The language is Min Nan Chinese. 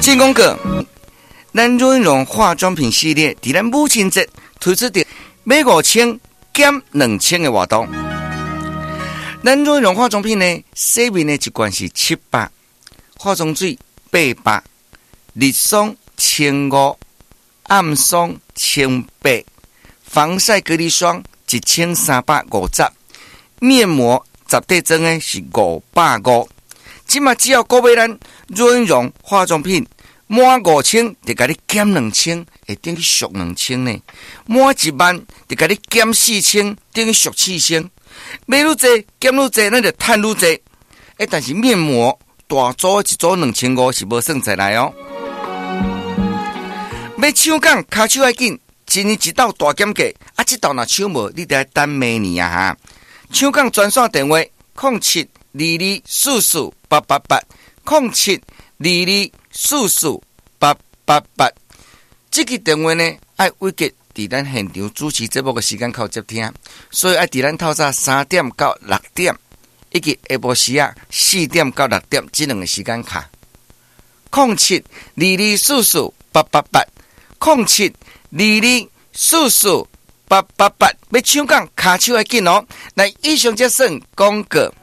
進廣告，咱潤容化妝品系列，佇咱母親節推出的買5000減2000的活動。咱潤容化妝品呢，洗面的一罐是700，化妝水800，日霜1500，暗霜1800，防曬隔離霜1350，面膜十塊裝的是550。這馬只要購買咱潤容化妝品，滿五千就共你減兩千，會等於俗兩千呢。滿1萬就共你減4000，等於俗四千。買愈濟減愈濟，咱就趁愈濟。欸，但是面膜大組一組2500是無算在內哦。欲搶講跤手愛緊，一年一度大減價，啊，這度若搶無，你得愛等明年啊哈。搶講專線電話：07-2244-888，07-2244-888。這支電話呢，愛委決佇咱現場主持節目的時間口接聽，所以愛佇咱透早3點到6點，以及下晡時仔4點到6點這兩個時間敲。07-2244-888，07-2244-888，欲搶講跤手愛緊哦。來，以上這算廣告。